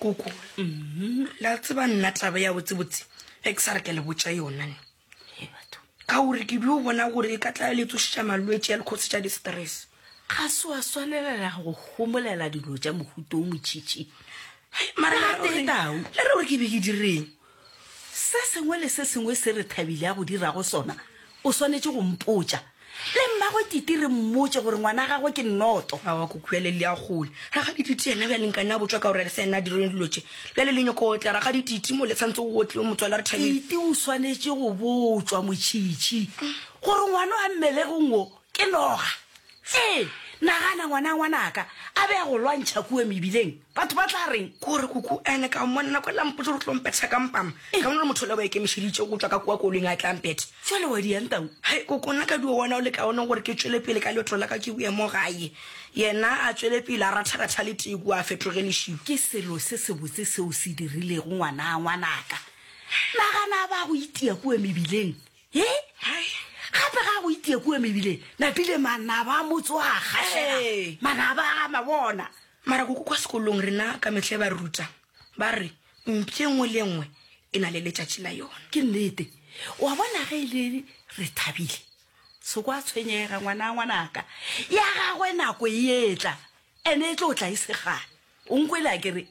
Koko, la tseba nna taba ya botsebotse ge ke sa re ke le botša yona ne. Ka gore ke dio bona gore e ka tla le tsošetša malwetši ya le khosetša di-stress. Ga se wa swanelela go homolela dilo tša mohuta o motšhitšhi. Mara le re tau. Le re gore ke be ke direng? Se sengwe le se sengwe se re thabile a go dirago sona, o swanetše go mpotša. Le mmagwe Titi re mmotše gore ngwana gagwe ke nnoto. Aowa koko bjale le ya kgole. Rakgadi Titi yena bjale nkane a botšwa ka gore se yena a dirileng dilo tše. Bjale le nyoko otla Rakgadi Titi mo le tshwanetse go otle motswala re thabile. Titi o swanetše go botšwa motšhitšhi gore ngwana wa mmelegong wo ke noga. Ee, nagana ngwana ngwanaka a be a go lwantšha kua mebileng, batho ba tla reng? Kore koko ene ka mmona nako ela mpotša gore o tlo mpetha ka mpama. Ka bona gore motho ola o ikemišeditše go tšwa ka kua koloing a tla mpetha. Jwale wa diang tau? Hai koko nna ka dio bona o le kaone gore ke tšwele pele ka leeto la ka ke boye mo gae. Yena a tšwele pele a ratharatha le tee kua a fetoge lešilo. Ke selo se sebotse seo se dirilego ngwana ngwanaka. Nagana a ba a go itia kua mebileng. He? Gape ga go itie kua mebileng, napile manaba a motse wa gašega. Manaba a mabona. Mara koko kwa sekolong rena ka mehla ba re ruta ba re mpša e nngwe le e nngwe e na le letšatši la yona. Ke nnete. Wa bona ge e le re thabile, se kwa tshwenyega ngwana ngwanaka. Ya gagwe nako e etla, ene e tlo tla e se kgale. O nkwele a ke re?